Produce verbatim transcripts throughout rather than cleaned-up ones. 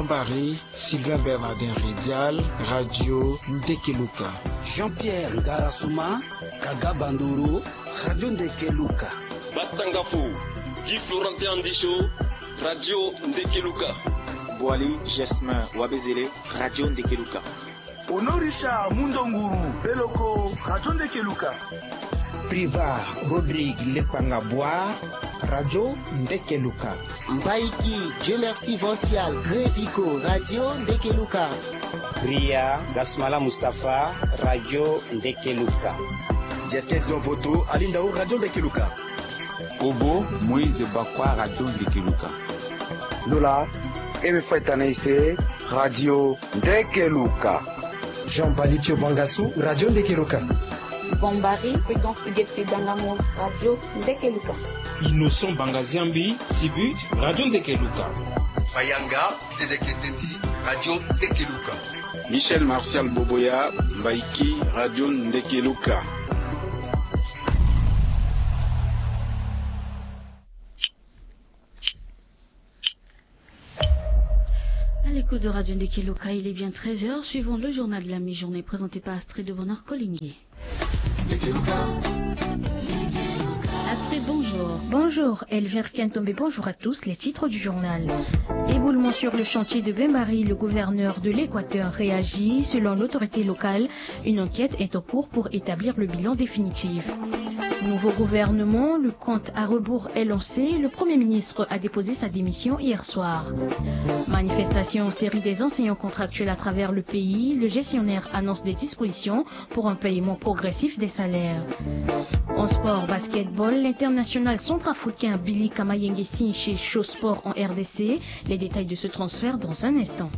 Mbari, Sylvain Bernardin Redial, Radio Ndekeluka. Jean-Pierre Ngarasuma, Kaga Bandoro, Radio Ndekeluka. Batangafo, Guy Florentin Andicho, Radio Ndekeluka. Boali Jasmin Wabezele, Radio Ndekeluka. Honorisha Mundonguru Beloko, Radio Ndekeluka. Priva Rodrigue Lepanga Boire, Radio Ndekeluka. Mbaiki Dieu Merci Vancial Grevico, Radio Ndekeluka. Priya Gasmala Mustapha, Radio Ndekeluka. Jeskes Donvoto Alindao, Radio Ndekeluka. Obo Moïse Bakwa, Radio Ndekeluka. Lola Eme Faitanaise, Radio Ndekeluka. Jean Balipio Bangasu, Radio Ndekeluka. Bombari Prudence Uget Dangamo, Radio Ndekeluka. Innocent Bangaziambi Sibut, Radio Ndekeluka. Mayanga Zedeke Teti, Radio Ndekeluka. Michel Martial Boboya Mbaiki, Radio Ndekeluka. À l'écoute de Radio Ndekeluka, il est bien treize heures. Suivons le journal de la mi-journée présenté par Astrid de Bonheur Collinger. Astrid, bonjour. Bonjour, Elvire Kentombe, bonjour à tous. Les titres du journal. Éboulement sur le chantier de Bembari, le gouverneur de l'Équateur réagit. Selon l'autorité locale, une enquête est en cours pour établir le bilan définitif. Nouveau gouvernement, le compte à rebours est lancé. Le Premier ministre a déposé sa démission hier soir. Manifestation en série des enseignants contractuels à travers le pays. Le gestionnaire annonce des dispositions pour un paiement progressif des salaires. En sport, basketball, l'international centrafricain Billy Kamayenge signe chez Show Sport en R D C. Les détails de ce transfert dans un instant.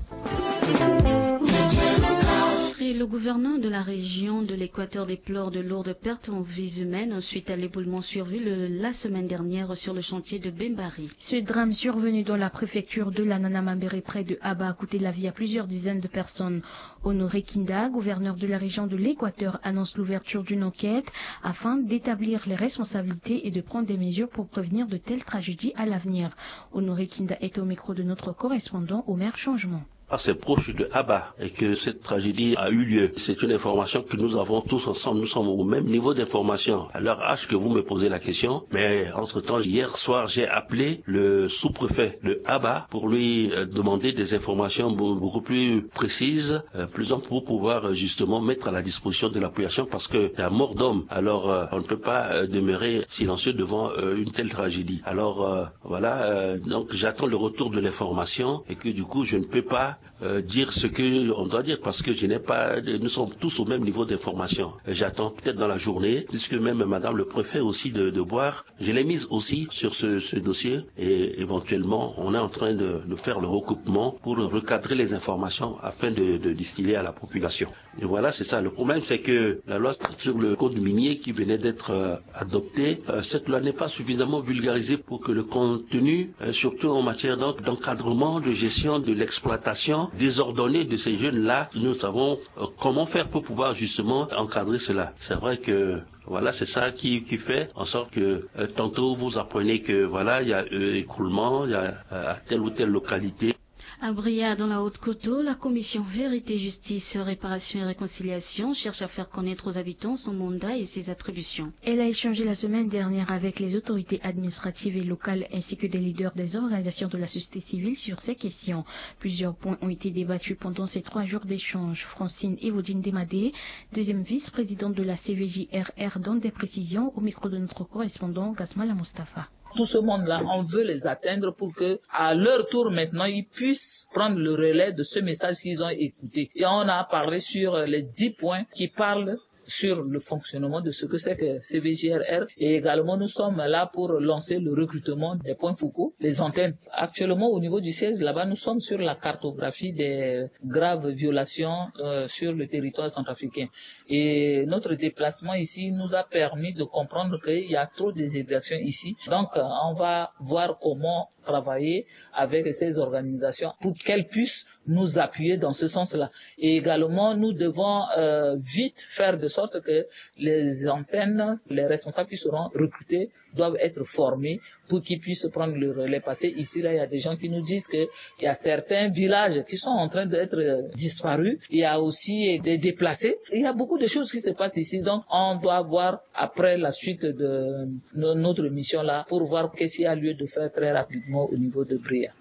Et le gouverneur de la région de l'Équateur déplore de lourdes pertes en vies humaines suite à l'éboulement survenu le- la semaine dernière sur le chantier de Bembari. Ce drame survenu dans la préfecture de l'Anana Mambéré près de Aba a coûté la vie à plusieurs dizaines de personnes. Honoré Kinda, gouverneur de la région de l'Équateur, annonce l'ouverture d'une enquête afin d'établir les responsabilités et de prendre des mesures pour prévenir de telles tragédies à l'avenir. Honoré Kinda est au micro de notre correspondant Omer Changement. Par ses proches de Aba et que cette tragédie a eu lieu. C'est une information que nous avons tous ensemble. Nous sommes au même niveau d'information. À l'heure H que vous me posez la question, mais entre-temps, hier soir, j'ai appelé le sous-préfet de Aba pour lui euh, demander des informations beau- beaucoup plus précises, euh, plus amples pour pouvoir euh, justement mettre à la disposition de la population parce que la mort d'homme. Alors, euh, on ne peut pas euh, demeurer silencieux devant euh, une telle tragédie. Alors, euh, voilà, euh, donc j'attends le retour de l'information et que du coup, je ne peux pas euh, dire ce que on doit dire parce que je n'ai pas, nous sommes tous au même niveau d'information. Euh, J'attends peut-être dans la journée, puisque même Madame le préfet aussi de, de Boire, je l'ai mise aussi sur ce, ce dossier et éventuellement, on est en train de, de faire le recoupement pour recadrer les informations afin de, de distiller à la population. Et voilà, c'est ça. Le problème, c'est que la loi sur le code minier qui venait d'être euh, adoptée, euh, cette loi n'est pas suffisamment vulgarisée pour que le contenu, euh, surtout en matière donc d'encadrement, de gestion de l'exploitation désordonnée de ces jeunes-là, nous savons euh, comment faire pour pouvoir justement encadrer cela. C'est vrai que voilà, c'est ça qui, qui fait en sorte que euh, tantôt vous apprenez que voilà, il y a euh, écroulement, il y a euh, à telle ou telle localité. À Bria, dans la Haute-Koto, la commission Vérité, Justice, Réparation et Réconciliation cherche à faire connaître aux habitants son mandat et ses attributions. Elle a échangé la semaine dernière avec les autorités administratives et locales ainsi que des leaders des organisations de la société civile sur ces questions. Plusieurs points ont été débattus pendant ces trois jours d'échange. Francine Evodine Demadé, deuxième vice-présidente de la C V J R R, donne des précisions au micro de notre correspondant Gasmala Mustapha. Tout ce monde-là, on veut les atteindre pour que, à leur tour maintenant, ils puissent prendre le relais de ce message qu'ils ont écouté. Et on a parlé sur les dix points qui parlent sur le fonctionnement de ce que c'est que C V J R R. Et également, nous sommes là pour lancer le recrutement des points focaux, les antennes. Actuellement, au niveau du siège, là-bas, nous sommes sur la cartographie des graves violations euh, sur le territoire centrafricain. Et notre déplacement ici nous a permis de comprendre qu'il y a trop d'exactions ici. Donc, euh, on va voir comment travailler avec ces organisations pour qu'elles puissent nous appuyer dans ce sens-là. Et également, nous devons euh, vite faire de sorte que les antennes, les responsables qui seront recrutés doivent être formés pour qu'ils puissent prendre le relais. Parce que ici, là, il y a des gens qui nous disent que il y a certains villages qui sont en train d'être disparus. Il y a aussi des déplacés. Il y a beaucoup de choses qui se passent ici. Donc, on doit voir après la suite de no-, notre mission là pour voir qu'est-ce qu'il y a lieu de faire très rapidement au niveau de Bria.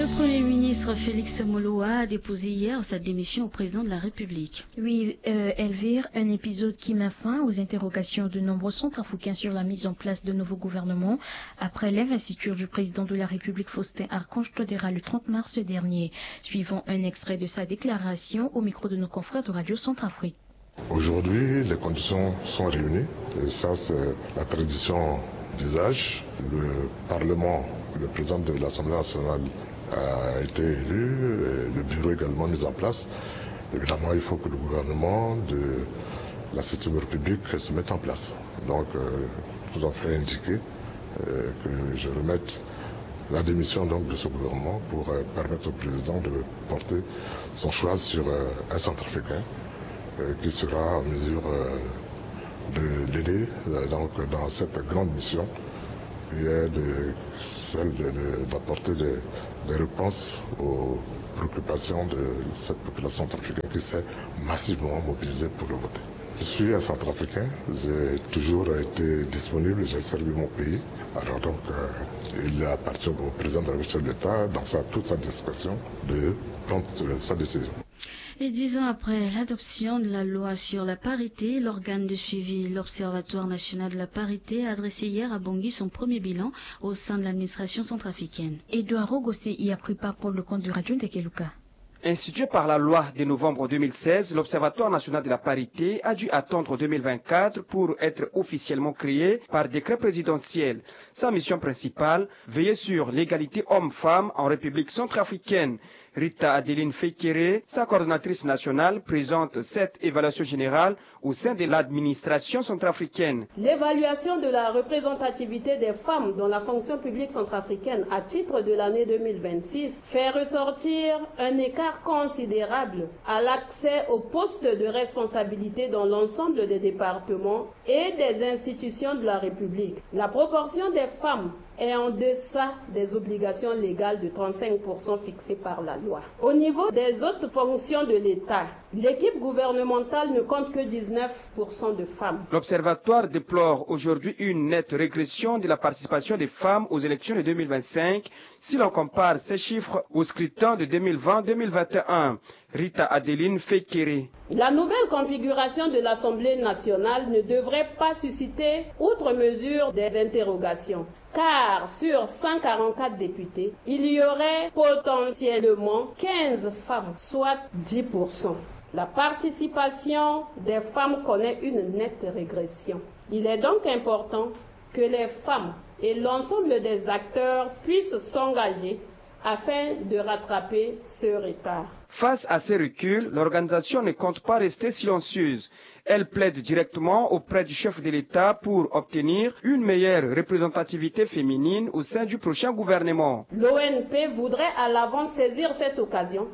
Le Premier ministre Félix Moloua a déposé hier sa démission au président de la République. Oui, euh, Elvire, un épisode qui met fin aux interrogations de nombreux centrafricains sur la mise en place de nouveaux gouvernements après l'investiture du président de la République Faustin Archange Touadéra le trente mars dernier. Suivons un extrait de sa déclaration au micro de nos confrères de Radio Centrafrique. Aujourd'hui, les conditions sont réunies. Et ça, c'est la tradition d'usage. Le Parlement, le président de l'Assemblée nationale a été élu, et le bureau également mis en place. Évidemment, il faut que le gouvernement de la septième République se mette en place. Donc, euh, tout à fait indiqué euh, que je remette la démission donc de ce gouvernement pour euh, permettre au président de porter son choix sur euh, un centrafricain euh, qui sera en mesure euh, de l'aider euh, donc dans cette grande mission qui est de, celle de- de- d'apporter des, des réponses aux préoccupations de cette population centrafricaine qui s'est massivement mobilisée pour le voter. Je suis un centrafricain, j'ai toujours été disponible, j'ai servi mon pays. Alors donc, euh, il appartient au président de la République de l'État, dans sa, toute sa discrétion, de prendre euh, sa décision. Et dix ans après l'adoption de la loi sur la parité, l'organe de suivi, l'Observatoire national de la parité, a dressé hier à Bangui son premier bilan au sein de l'administration centrafricaine. Edouard Rogossé y a pris part pour le compte de Radio Ndekeluka. Institué par la loi de novembre deux mille seize, l'Observatoire national de la parité a dû attendre deux mille vingt-quatre pour être officiellement créé par décret présidentiel. Sa mission principale, veiller sur l'égalité homme-femme en République centrafricaine. Rita Adeline Feikere, sa coordonnatrice nationale, présente cette évaluation générale au sein de l'administration centrafricaine. L'évaluation de la représentativité des femmes dans la fonction publique centrafricaine à titre de l'année deux mille vingt-six fait ressortir un écart considérable à l'accès aux postes de responsabilité dans l'ensemble des départements et des institutions de la République. La proportion des femmes est en deçà des obligations légales de trente-cinq pour cent fixées par la loi. Au niveau des autres fonctions de l'État, l'équipe gouvernementale ne compte que dix-neuf pour cent de femmes. L'Observatoire déplore aujourd'hui une nette régression de la participation des femmes aux élections de deux mille vingt-cinq si l'on compare ces chiffres au scrutin de deux mille vingt deux mille vingt et un. Rita Adeline Feikere. La nouvelle configuration de l'Assemblée nationale ne devrait pas susciter outre mesure des interrogations. Car sur cent quarante-quatre députés, il y aurait potentiellement quinze femmes, soit dix pour cent. La participation des femmes connaît une nette régression. Il est donc important que les femmes et l'ensemble des acteurs puissent s'engager afin de rattraper ce retard. Face à ces reculs, l'organisation ne compte pas rester silencieuse. Elle plaide directement auprès du chef de l'État pour obtenir une meilleure représentativité féminine au sein du prochain gouvernement. L'O N P voudrait à l'avance saisir cette occasion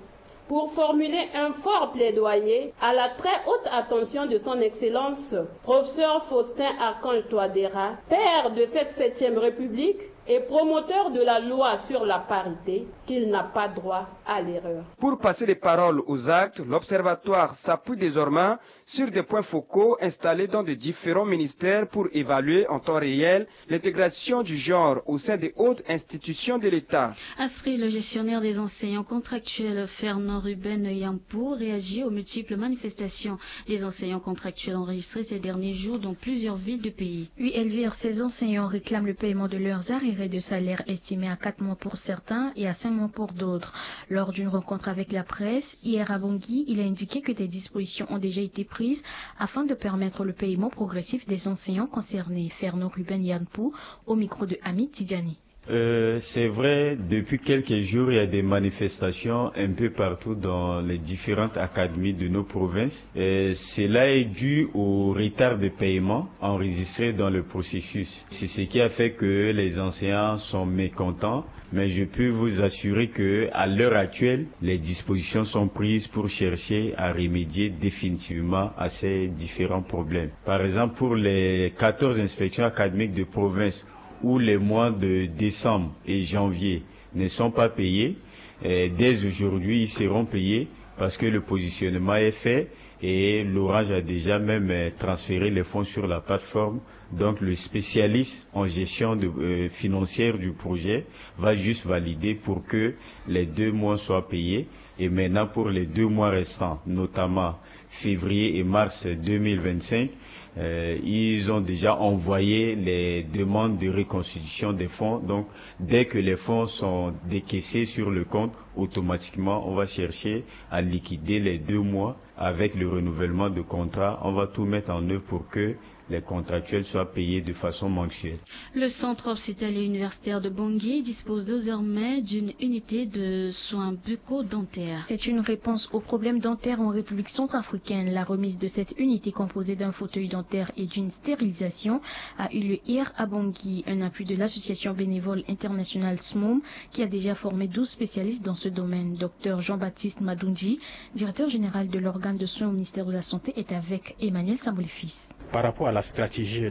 pour formuler un fort plaidoyer à la très haute attention de son Excellence, professeur Faustin Archange Touadéra, père de cette septième République et promoteur de la loi sur la parité, qu'il n'a pas droit à l'erreur. Pour passer des paroles aux actes, l'Observatoire s'appuie désormais sur des points focaux installés dans de différents ministères pour évaluer en temps réel l'intégration du genre au sein des hautes institutions de l'État. Astrid, le gestionnaire des enseignants contractuels, Fernand Ruben Yampo, réagit aux multiples manifestations des enseignants contractuels enregistrées ces derniers jours dans plusieurs villes du pays. Oui, Elvire, ces enseignants réclament le paiement de leurs arriérés de salaire estimés à quatre mois pour certains et à cinq mois pour d'autres. Lors d'une rencontre avec la presse, hier à Bangui, il a indiqué que des dispositions ont déjà été prises afin de permettre le paiement progressif des enseignants concernés. Fernand Ruben Yampo au micro de Hamid Tidjani. Euh, c'est vrai, depuis quelques jours, il y a des manifestations un peu partout dans les différentes académies de nos provinces. Euh, cela est dû au retard de paiement enregistré dans le processus. C'est ce qui a fait que les enseignants sont mécontents, mais je peux vous assurer que, à l'heure actuelle, les dispositions sont prises pour chercher à remédier définitivement à ces différents problèmes. Par exemple, pour les quatorze inspections académiques de province, où les mois de décembre et janvier ne sont pas payés, euh, dès aujourd'hui, ils seront payés parce que le positionnement est fait et l'Orange a déjà même, euh, transféré les fonds sur la plateforme. Donc, le spécialiste en gestion de, euh, financière du projet va juste valider pour que les deux mois soient payés. Et maintenant, pour les deux mois restants, notamment février et mars deux mille vingt-cinq, euh, ils ont déjà envoyé les demandes de reconstitution des fonds. Donc, dès que les fonds sont décaissés sur le compte, automatiquement, on va chercher à liquider les deux mois avec le renouvellement de contrat. On va tout mettre en œuvre pour que les contractuels soient payés de façon mensuelle. Le Centre hospitalier universitaire de Bangui dispose désormais d'une unité de soins bucco-dentaires. C'est une réponse aux problèmes dentaires en République centrafricaine. La remise de cette unité composée d'un fauteuil dentaire et d'une stérilisation a eu lieu hier à Bangui. Un appui de l'association bénévole internationale smom, qui a déjà formé douze spécialistes dans ce domaine. Docteur Jean-Baptiste Madundji, directeur général de l'organe de soins au ministère de la Santé, est avec Emmanuel Sambolifis. Par rapport à la stratégie de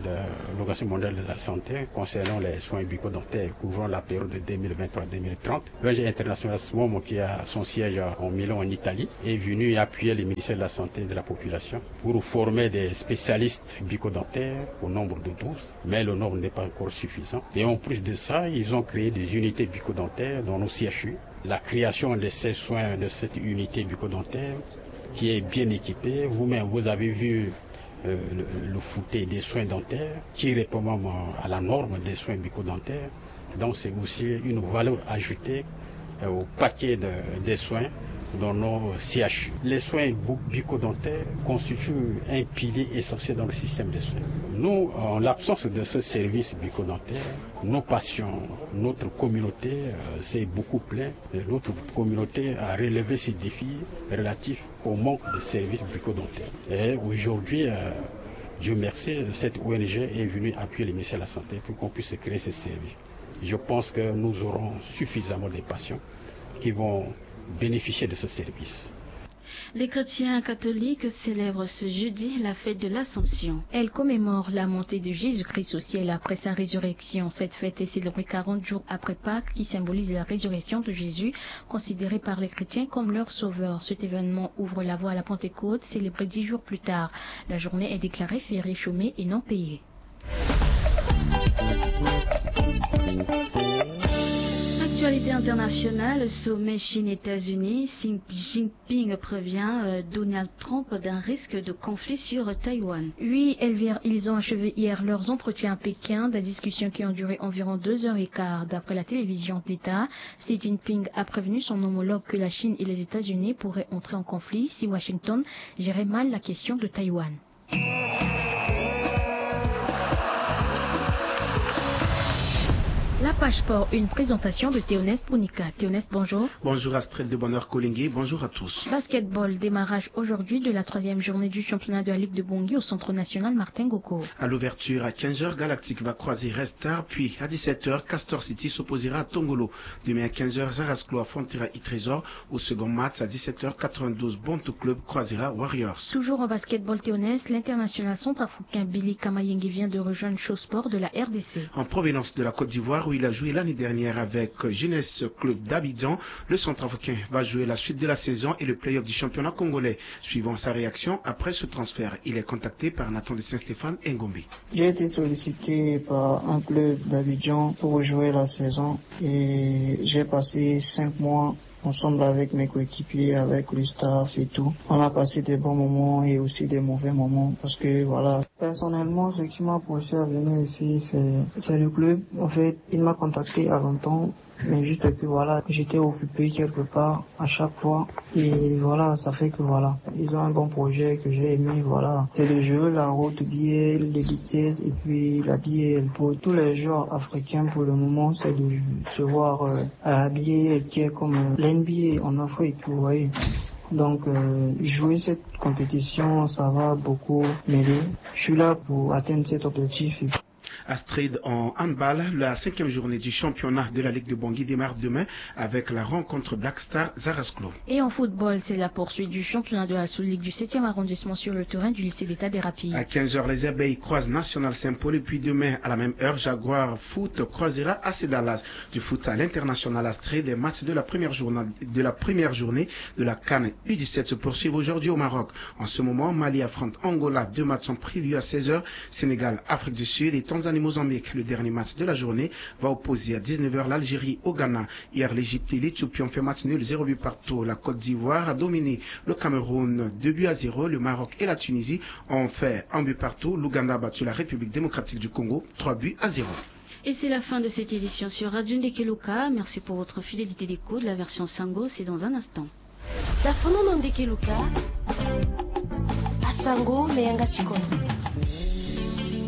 l'Organisation mondiale de la santé concernant les soins bucco-dentaires couvrant la période de deux mille vingt-trois deux mille trente, l'O N G internationale smom, qui a son siège en Milan, en Italie, est venue appuyer le ministère de la Santé et de la Population pour former des spécialistes bucco-dentaires au nombre de douze, mais le nombre n'est pas encore suffisant. Et en plus de ça, ils ont créé des unités bucco-dentaires dans nos C H U. La création de ces soins, de cette unité bucco-dentaire qui est bien équipée, vous-même, vous avez vu, euh, le, le fauteuil des soins dentaires qui répond même à la norme des soins bucco-dentaires. Donc, c'est aussi une valeur ajoutée, euh, au paquet de, des soins dans nos C H U. Les soins bu-, bucco-dentaires constituent un pilier essentiel dans le système de soins. Nous, en l'absence de ce service bucco-dentaire, nos patients, notre communauté, euh, s'est beaucoup plaint. Et notre communauté a relevé ces défis relatifs au manque de services bucco-dentaires. Et aujourd'hui, euh, Dieu merci, cette O N G est venue appuyer le ministère de la Santé pour qu'on puisse créer ce service. Je pense que nous aurons suffisamment de patients qui vont bénéficier de ce service. Les chrétiens catholiques célèbrent ce jeudi la fête de l'Assomption. Elle commémore la montée de Jésus-Christ au ciel après sa résurrection. Cette fête est célébrée quarante jours après Pâques, qui symbolise la résurrection de Jésus, considéré par les chrétiens comme leur sauveur. Cet événement ouvre la voie à la Pentecôte, célébrée dix jours plus tard. La journée est déclarée fériée chômée et non payée. Actualité internationale, sommet Chine-États-Unis, Xi Jinping prévient, euh, Donald Trump d'un risque de conflit sur Taïwan. Oui, Elvire, ils ont achevé hier leurs entretiens à Pékin, des discussions qui ont duré environ deux heures et quart. D'après la télévision d'État, Xi Jinping a prévenu son homologue que la Chine et les États-Unis pourraient entrer en conflit si Washington gérait mal la question de Taïwan. La page sport, une présentation de Théoneste Bonika. Théoneste, bonjour. Bonjour Astrid de Bonheur Kolingui, bonjour à tous. Basketball, démarrage aujourd'hui de la troisième journée du championnat de la Ligue de Bangui au Centre national Martin Ngoko. À l'ouverture, à quinze heures, Galactique va croiser Red Star, puis à dix-sept heures, Castor City s'opposera à Tongolo. Demain à quinze heures, Zarasclo affrontera Itrésor. Au second match, à dix-sept heures quatre-vingt-douze, Bonto Club croisera Warriors. Toujours en basketball, Théoneste, l'international centrafricain Billy Kamayenge vient de rejoindre Show Sport de la R D C. En provenance de la Côte d'Ivoire, où il a joué l'année dernière avec Jeunesse Club d'Abidjan, le centrafricain va jouer la suite de la saison et le play-off du championnat congolais. Suivant sa réaction après ce transfert, il est contacté par Nathan de Saint-Stéphane Ngombe. J'ai été sollicité par un club d'Abidjan pour jouer la saison et j'ai passé cinq mois ensemble avec mes coéquipiers, avec le staff et tout. On a passé des bons moments et aussi des mauvais moments parce que, voilà. Personnellement, ce qui m'a poussé à venir ici, c'est, c'est le club. En fait, il m'a contacté à l'entente Mais juste que voilà, j'étais occupé quelque part à chaque fois. Et voilà, ça fait que voilà, ils ont un bon projet que j'ai aimé, voilà. C'est le jeu, la route, billet, les vitesses, et puis la billet, pour tous les joueurs africains pour le moment, c'est de se voir euh, habillé, qui est comme euh, l'N B A en Afrique, vous voyez. Donc, euh, jouer cette compétition, ça va beaucoup m'aider. Je suis là pour atteindre cet objectif. Astrid, en handball, la cinquième journée du championnat de la Ligue de Bangui démarre demain avec la rencontre Black Star Zarasklo. Et en football, c'est la poursuite du championnat de la sous-ligue du septième arrondissement sur le terrain du lycée d'État des Rapides. À quinze heures, les Abeilles croisent National Saint-Paul et puis demain, à la même heure, Jaguar Foot croisera A C Dallas. Du foot à l'international, Astrid, des matchs de la première journée de la première journée de la CAN U dix-sept se poursuivent aujourd'hui au Maroc. En ce moment, Mali affronte Angola. Deux matchs sont prévus à seize heures. Sénégal, Afrique du Sud et Tanzanie, Mozambique. Le dernier match de la journée va opposer à dix-neuf heures l'Algérie au Ghana. Hier, l'Égypte et l'Éthiopie ont fait match nul, zéro but partout. La Côte d'Ivoire a dominé le Cameroun, deux buts à zéro. Le Maroc et la Tunisie ont fait un but partout. L'Ouganda a battu la République démocratique du Congo, trois buts à zéro. Et c'est la fin de cette édition sur Radio Ndekeluka. Merci pour votre fidélité d'écoute. La version Sango, c'est dans un instant. Tafono na Ndekeluka. Asango na yanga ti kodro.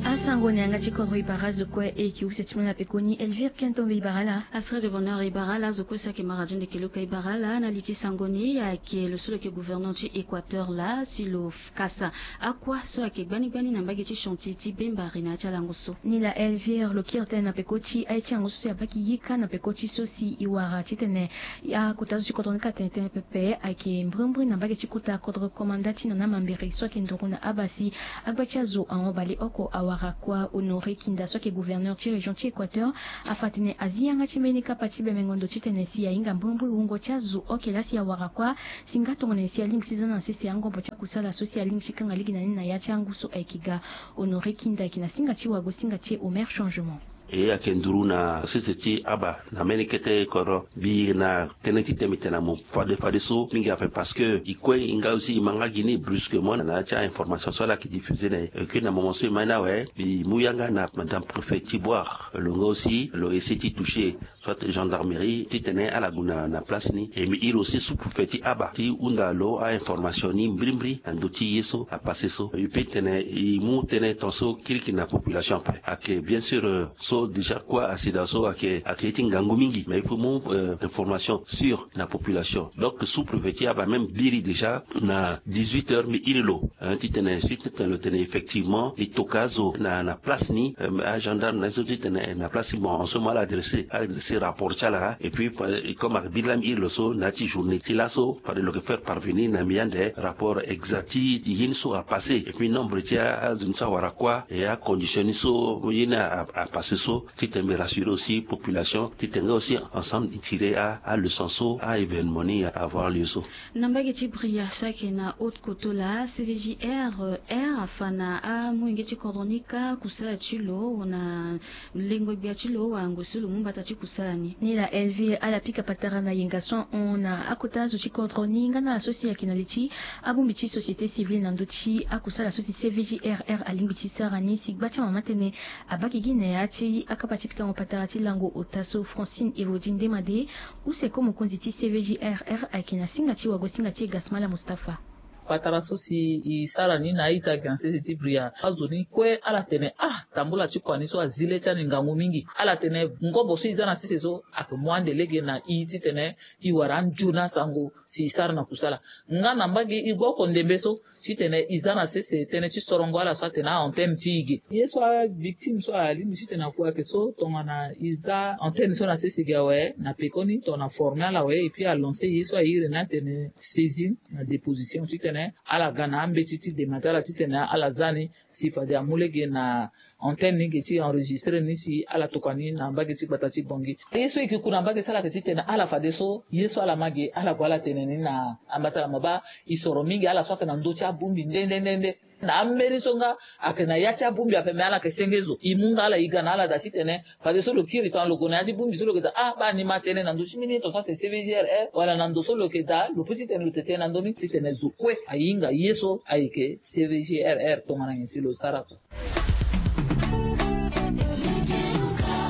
Asango na yanga ti kodro, e bara zo kue e ki use ti mena pekoni Elvire Kentombe, e bara laa. Astrid de Bonheur, e bara laa. Zo kue so ayeke ma Radio Ndekeluka, e bara laa. Na li ti sango ni, ayeke lo so lo yeke gouverneur ti Équateur laa, si lo kasa akua so ayeke gbani gbani na mbage ti chantier ti Bembari na ya ti alango so. Ni laa Elvire, lo kiri tënë na peko ti aye ti alango so si abaa ki yika na peko ti so si e wara titene akota zo ti kodro ni ka tene tënë pepe. Ayeke mbrimbri na mbage ti kota kodro komanda ti Nana Mambiri so ayeke nduru na abaa si agba ti azo ahon baleoko awara kua. Honoré Kinda so ayeke gouverneur ti région ti Équateur afa atene azi yanga ti mbeni kapa ti bemengo ndo titene si ahinga mbrimbri wungo ti azo oke laa si awara kua. Si nga tongana nyen si alingbi ti za na sese angobo ti akusala so si alingbi ti kanga lege na ni na ya ti angu so ayeke ga. Honoré Kinda ayeke na singa ti wago singa ti e Omer Changement. E ayeke nduru na sese ti aba na mbeni kete kodro. Mbi na tënë ti tene mbi tene na mo fade fadeso mingi ape parce que e kue e nga aussi e ma nga gi ni brusquement na ya ti a-information so ala yeke diffusé na e. E kue na moment so e ma ni awe, mbi mu yanga na madame préfet ti Bouar, lo nga aussi lo essayer ti toucher soit gendarmerie titene ala gue na place ni. E mbi iri aussi sous-préfet ti aba ti hunda lo a-information ni mbrimbri na ndö ti ye so apassé so. E peut tene e mu tënë tongaso kirikiri na population ape. Ayeke bien sûr so déjà kua asida so ayeke ye ti ngangu mingi, mais il faut mu information sûre na population. Donc sous-préfet ti aba même biri déjà na dix-huit heures mbi iri lo titene suite titene lo tene effectivement e toka azo na place ni. Agendarme na ye so titene na place ni, bon en ce moment ala adressé ala adressé rapport ti ala. Et puis comme ayeke biri laa mbi iri lo so na ya ti journée ti laso fade lo yeke faire parvenir na mbi ande rapport exact ti ye ni so apassé et puis nombre ti azo ni so awara kua et acondition ni so ye ni apassé so. Titene mbi rassurer aussi population titene nga aussi ensemble e tirer aleçon so a-événement ni avoir lieu so. Na mbage ti Bria so ayeke na Haute-Kotto laa, C V J R R afa na amolenge ti kodro ni kâ kusala ti lo na lengo gbia ti lo wala ngu so lo mu mbata ti kusala ni. Ni laa Elvire ala pika patara na yenga so ahon na akota zo ti kodro ni nga na ala so si ayeke na li ti abongbi ti société civile na ndö ti akusala so si C V J R R alingbi ti sara ni si gba ti amama tënë abaa gi na ya ti akapa ti pikango patara ti lango ota so. Francine Evodi Ndemade, use ko mokonzi ti C V J R R ayeke na singa ti wago singa ti e Gasmala Mustapha. Patara so si e sara ni na a-ita ayeke na sese ti Bria, azo ni kue ala tene ah, tambula ti kua ni so azi le ti ani ngangu mingi. Ala tene ngobo so e za na sese so ayeke mu ande lege na e titene e wara anzoni asango si e sara na kusala. Nga na mbage e gba oko ndembe so titene e za na sese tënë ti sorongo ala so atene a-antenne ti e ge. Ye so avictime so alingbi titene akue ayeke so tongana e za antenne so na sese ge awe, na pekoni tongana aforme ala awe et puis alancer ye so aye iri ni atene saisine na déposition titene ala ga na ambeti ti dema ti ala titene ala za ni si fade amu lege na antenne ni ge ti enregistrer ni si ala tokua ni na mbage ti gbata ti Bangui. Ye so e yeke ku na mbage ti ala ayeke titene ala fadeso ye so ala ma ge ala gue ala tene ni na amba ti ala. Mo baa e soro mingi ala so ayeke na ndö ti abongbi nde nde nde nde. Na ambeni so nga ayeke na ya ti abongbi ape me ala yeke senge zo. E mu nga ala e ga na ala daa titene fadeso lo kiri tongana lo gue na ya ti bongbi so lo yeke daa ah baa ni ma tënë na ndö ti mbeni ye tongaso atene C V G R R wala na ndo so lo yeke daa lo peut titene lo tene na ndö ni titene zo kue ahinga ye so ayeke C V G R R tongana nyen si lo sara.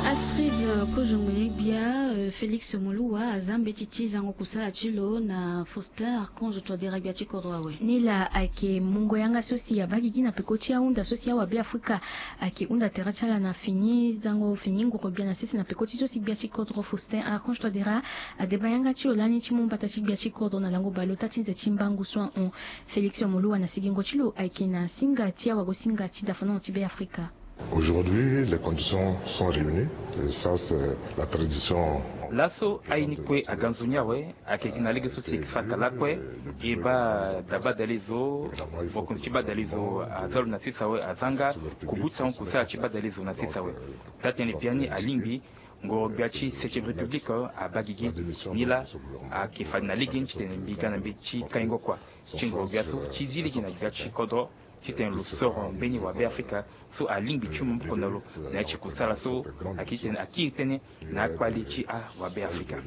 Astrid, kozongo ye gbia. Félix Moluwa aza mbeti ti zango kusala ti lo na Faustin Archange Touadéra gbia ti kodro awe. Ni laa ayeke mungo yanga so si abaa gigi na peko ti ahunda so si awa Beafrika ayeke hunda tere ti ala na fini zango fini nguru gbia na sese na peko ti so si gbia ti kodro Faustin Archange Touadéra adeba yanga ti lo lani ti mu mbata ti gbia ti kodro na lango baleota ti nze ti mbangu so ahon. Félix Moluwa na sigingo ti lo ayeke na singa ti awagosinga ti dafanongo ti Beafrika. Aujourd'hui, les conditions sont réunies. Et ça, c'est la tradition. Laso aye ni kue aga nzoni awe, ayeke gi na lege so si e sara ka lakue. E baa da badale zo, mokonzi ti badale zo aza lo na sese awe, aza nga kubu ti sango kusala ti badale zo na sese awe. Taa-tënë biani alingbi ngoro gbia ti septième république abaa gigi. Ni laa ayeke fade na lege ni titene mbi ga na mbeti ti kaingo kua ti ngoro gbia so ti zi lege na gbia ti kodro titene lo soro mbeni wa Beafrika so alingbi ti mu maboko na lo na ya ti kusala so ayeke titene akiri tënë na akpale ti awa Beafrika.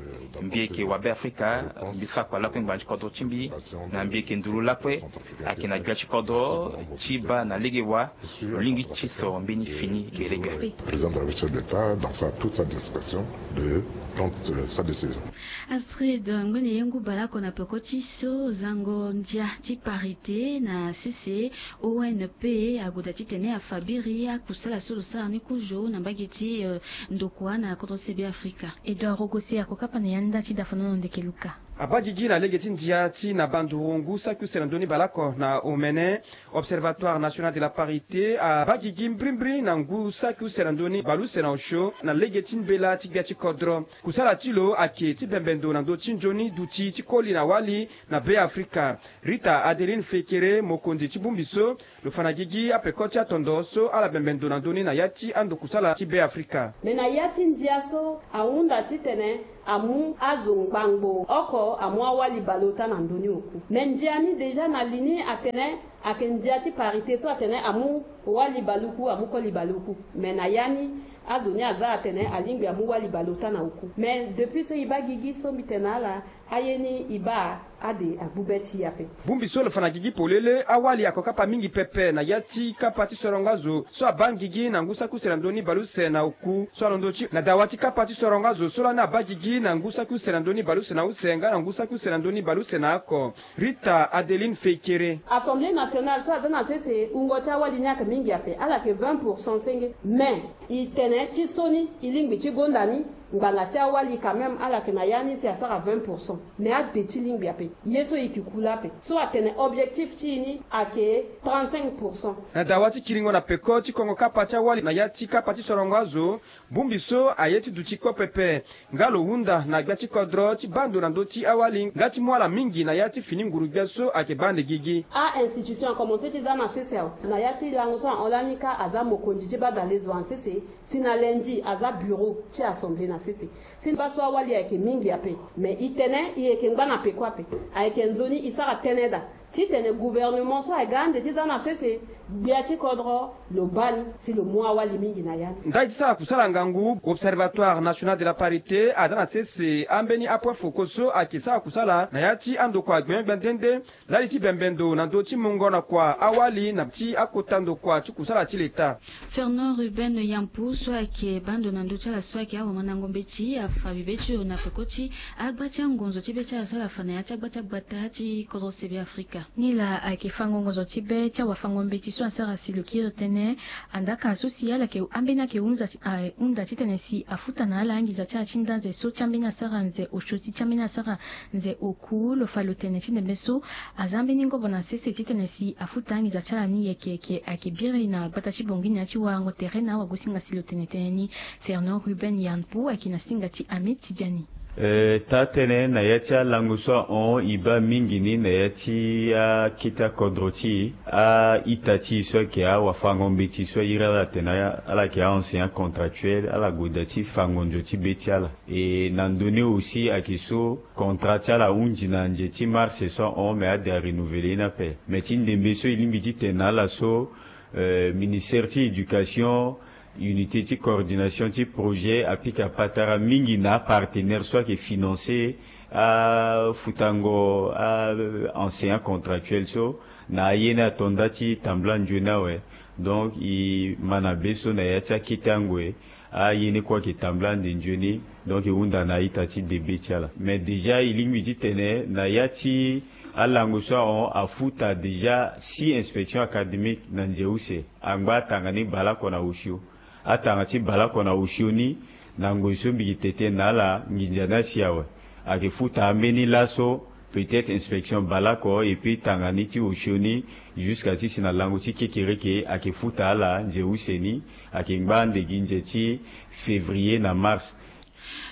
Mbi yeke wa Beafrika, mbi sara kua lakue ngbanga ti kodro ti mbi, na mbi yeke nduru lakue ayeke na gbia ti kodro ti baa na lege wa lo lingbi ti soro mbeni fini gelegere. Président de la République, chef de l'État, dans sa, toute sa discrétion, de prendre, euh, sa décision. Astrid, ngbene ye ngu baleoko na peko ti so zango ndia ti parité na sese O N P ague daa titene afa biri akusala so lo sara ni kozo na mbage ti, euh, ndokua na kodro se Beafrika. Edouard Rogosi akokapa na yanda ti dafanongo ndeke luka. Abaa gigi na lege ti ndia ti na banduru ngu saki use na ndö ni baleoko na omene. Observatoire National de la Parité abaa gigi mbirimbiri na ngu saki use na ndö ni baleuse na osio na lege ti mbela ti gbia ti kodro. Kusala ti lo ayeke ti bembe ndo na ndö ti nzoni duti ti koli na wali na Beafrika. Rita Adeline Fekere, mokonzi ti bongbi so, lo fa na gigi apeko ti atondo so ala bembe ndo na ndö ni na ya ti ando kusala ti Beafrika. Me na ya ti ndia so ahunda titene amu azo ngbangbo oko amu awali baleota na ndö ni oku. Me ndia ni déjà na li ni atene ayeke ndia ti parité so atene amu wali baleoku, amu koli baleoku. Me na ya ni azo ni aza atene alingbi amu wali baleota na oku. Me depuis so e baa gigi so mbi tene na ala, aye ni e baa ade agbu be ti e ape. Bongbi so lo fa na gigi polele, awali akokapa mingi pepe na ya ti kapa ti sorongo azo so abaa ngigi na ngu saki use na ndö ni baleuse na oku so alondo ti na dawa ti kapa ti sorongo azo so lani abaa gigi na ngu saki use na ndö ni baleuse na use nga na ngu saki use na ndö ni baleuse na oko. Rita Adeline Fekere. Assemblée nationale so aza na sese, wungo ti awali ni ayeke mingi ape, ala yeke vingt pour cent senge. Mais e tene ti so ni e lingbi ti gonda ni, ngbanga ti awali quand même ala yeke na ya ni si asara vingt pour cent. Mais ade ti lingbi ape. Ye so e yeke ku laa ape. So atene objectif ti e ni ayeke trente-cinq pour cent. Na dawa ti kiringo na peko ti kongo kapa ti awali na ya ti kapa ti sorongo azo, bongbi so aye ti duti kpo pepe. Nga lo hunda na gbia ti kodro ti baa ndo na ndö ti awali nga ti mu ala mingi na ya ti fini nguru gbia so ayeke baa ande gigi. A-institution akomanse ti za na sese awe. Na ya ti lango so ahon lani kâ aza mokonzi ti badalezo na sese, si na lundi aza bureau ti assemblée na sese. Si baa so awali ayeke mingi ape. Mais e tene e yeke ngba na peko ape. Ayeke nzoni e sara tënë daa titene gouvernement so aga ande ti za na sese, gbia ti kodro lo baa ni si lo mu awali mingi na ya ni. Ndali ti sara kusala ngangu, Observatoire National de la Parité aza na sese ambeni apoint focaux so ayeke sara kusala na ya ti andokua gbenyo-gbia nde nde, ndali ti bembe ndo na ndö ti mungo na kua awali na ti akota ndokua ti kusala ti leta. Fernand Ruben Yampu so ayeke baa ndo na ndö ti ala so ayeke awamandango mbeti afa bibe ti lo na peko ti agba ti angonzo ti be ti ala so ala fa na ya ti agba ti agbata ti kodro se Beafrika. Ni laa ayeke fango ngonzo ti be ti awafango mbeti so asara si lo kiri tënë. Andaka so si ala yeke ambeni ayeke hunza ti, ahunda titene si afuta na ala anginza ti ala ti nda nze so ti ambeni asara nze osio ti ti ambeni asara nze oku, lo fa lo tene ti ndembe so aza mbeni ngobo na sese titene si afuta anginza ti ala ni yeke yeke ayeke biri na gbata ti bongi na ya ti warango tere na awagosinga si lo tene tënë ni. Fernand Ruben Yampu ayeke na singa ti Hamid Tidiani. Eh, taa-tënë na ya ti alango so ahon e baa mingi ni na ya ti akete akodro ti e, a-ita ti e so ayeke awafango mbeti so airi ala atene ala yeke a-enseignant contractuel, ala gue daa ti fango nzo ti be ti ala. E na ndö ni aussi ayeke so contrat ti ala ahunzi na nze ti mars so ahon, me ade arenouvele ye ni ape. Me ti ndembe so e lingbi ti tene na ala so, eh, ministère ti éducation, unité ti coordination ti projet apika patara mingi na apartenaire so ayeke financer afutango a-enseignant contractuel so na aye ni ato nda ti tambula nzoni awe. Donc e ma na be so na ya ti akete angoi Aye ni kue ayeke tambula ande nzoni. Donc e hunda na a-ita ti debe ti ala. Mais déjà e lingbi titene na ya ti alango so ahon afuta déjà six inspections académiques na nze use. Angba atanga ni baleoko na osio. Atanga ti baleoko na osio ni, na ngoi so mbi yeke tene na ala nginza ni asi awe. Ayeke futa ambeni laso, peut-être inspection baleoko, et puis tanga ni ti osio ni, jusqu'à ti si na lango ti kekereke ayeke futa ala nze use ni. Ayeke ngba ande gi nze ti février na mars.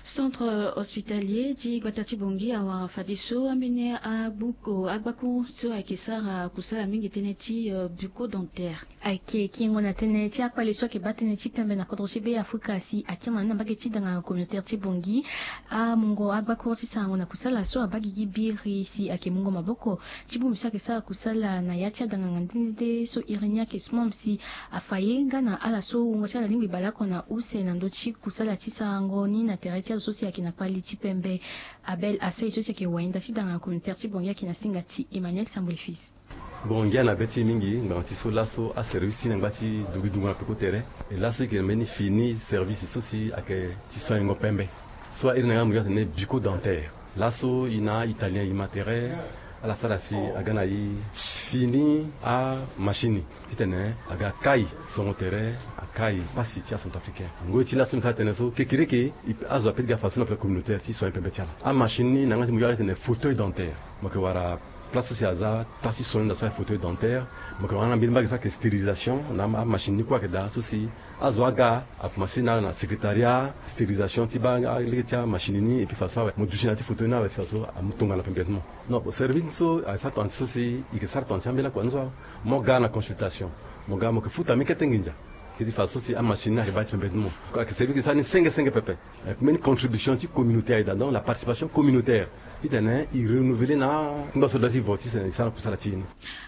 Centre hospitalier ti gbata ti Bangui awara fadeso ambeni agbuko agbako so ayeke sara kusala mingi tënë ti bucco dentaire. Ayeke kingo na tënë ti akpale so ayeke baa tënë ti pembe na kodro ti Be Afrika si akiri na ni na mbage ti danganga communautaire ti Bangui. Amungo agbako ti sarango na kusala so abaa gigi biri si ayeke mungo maboko ti bongbi so ayeke sara kusala na ya ti adanganga nde nde so iri ni ayeke smom si afa ye nga na ala so wungo ti ala alingbi baleoko na use na ndö ti kusala ti sarango ni na tere ti azo so si ayeke na kpali ti pembe. Abel Asei so si ayeke wainda ti danganga communautaire ti Bangui ayeke na singa ti Emmanuel Samboli Fils. Bon, ngia na be ti e mingi ngbanga ti so laso aservice ti e na ngba ti dugu dungu na peko tere. E laso e yeke na mbeni fini service so si ayeke ti soignengo pembe so a iri na yanga mo yeke atene bucco dentaire. Laso e na a-italien e ma tere ala sara si aga na e fini amachine titene aga kai songo tere, akai pasi ti acentrafricain. Ngoi ti laso mbi sara tene so kekereke azo ape ti ga fadeso na place communautaire ti soigner pembe ti ala. Amachine ni na yanga ti mo yeke atene fauteuil dentaire. Mo yeke wara place so si aza place ti soigner na so ayeke fauteuil dentaire. Mo yeke wara na mbeni mbage so ayeke stérilisation na amachine ni kue ayeke daa so si azo aga akomanse na ala na secrétariat stérilisation ti baa lege ti amachine ni et puis fadeso awe mo duti na ya ti fauteuil ni awe si fadeso amu tongana pembe ti mo. Non, service so ayeke sara tongana ti so si e yeke sara tongana ti ambeni akua ni so awe. Mo ga na consultation, mo ga mo yeke futa mbeni kete nginza. Kete fadeso si amachine ni ayeke baa ti pembe ti mo. Ayeke service e sara ni senge senge pepe. Mbeni contribution ti communauté aye daa, donc la participation communautaire. Titene e renouveler na ngba so daa ti vo titene e sara kusala ti e ni.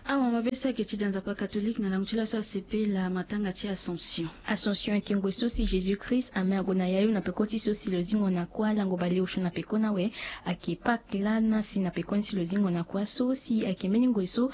Awa mabe so ayeke ti da nzapa catholique na lango ti laso asepela matanga ti Assomption. Assomption ayeke ngoi so si Jésus Christ ame ague na yayu na peko ti so si lo zingo na kuâ lango baleosio na peko ni awe. Ayeke Pâques laa na si na peko ni si lo zingo na kuâ so si ayeke mbeni ngoi so